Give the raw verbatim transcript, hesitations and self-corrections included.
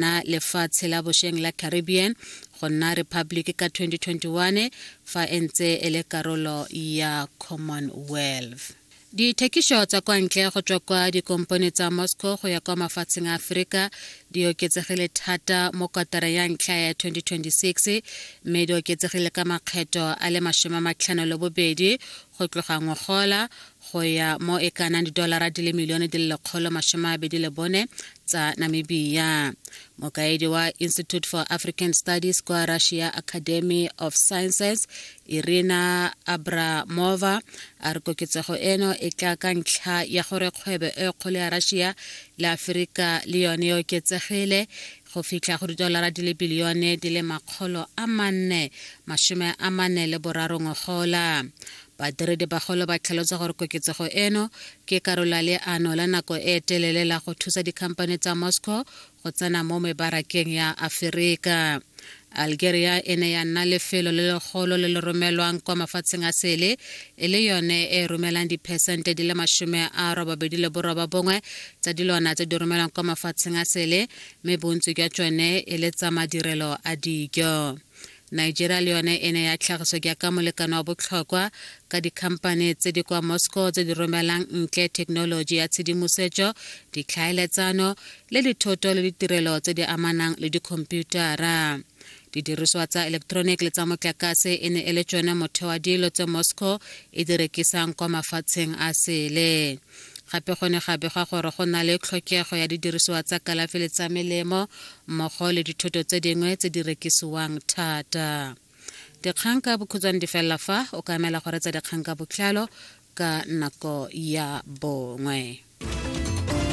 Na lefatshe la bošeng la Caribbean go nna republic ka twenty twenty-one fa e ntse e le karolo ya Commonwealth. Dithekišo tsa kwa ntle go tswa kwa dikompone tsa Moscow go ya kwa mafatsheng a Aforika di oketsegile thata mo kotara ya ntlha ya twenty twenty-six, mme di oketsegile ka makgetho a le masome a matlhano le bobedi go tloga ngogola go ya mo e ka nang didolara di le milione di le lekgolo masome a mabedi le bone tsa Namibia. Mokaedi wa Institute for African Studies kwa Russia Academy of Sciences, Irina Abramova, a re koketsego eno e tla ka ntlha ya gore kgwebo e kgolo ya Russia le Aforika le yone e oketsegile go fitlha go didolara di le bilione di le makgolo a manne masome a mane le boraro ngogola. Badiredi bagolo ba tlhalosa gore koketsego eno ke karolo ya leano la nako e telele la go thusa dikhamphane tsa Moscow go tsena mo mebarakeng ya Aforika. Algeria e ne ya nna lefelo le legolo le le romelwang kwa mafatsheng a sele, e le yone e romelang diphesente di le masome a robabedi le borobabongwe tsa dilwana tse di romelwang kwa mafatsheng a sele, mme bontsi jwa tsone e le tsa madirelo a dijo. Nigeria le yone e ne ya tlhagiswa jaaka molekane wa botlhokwa ka dikhamphane tse di kwa Moscow tse di romelang ntle thekenoloji ya tshedimosetso, ditlhaeletsano le dithoto le ditirelo tse di amanang le dikhomputara. Didiriswa tsa electronic le tsa motlakase e ne e le tsone motheo wa dilo tse Moscow e di rekisang kwa mafatsheng a sele. Gape go ne ga begwa gore go na le tlhokego ya didirisiwa tsa kalafi le tsa melemo mmogo le dithoto tse dingwe tse di rekisiwang thata. Dikgang ka bokhutshwane di felela fa o ka emela go reetsa dikgang ka botlalo ka nako ya bongwe.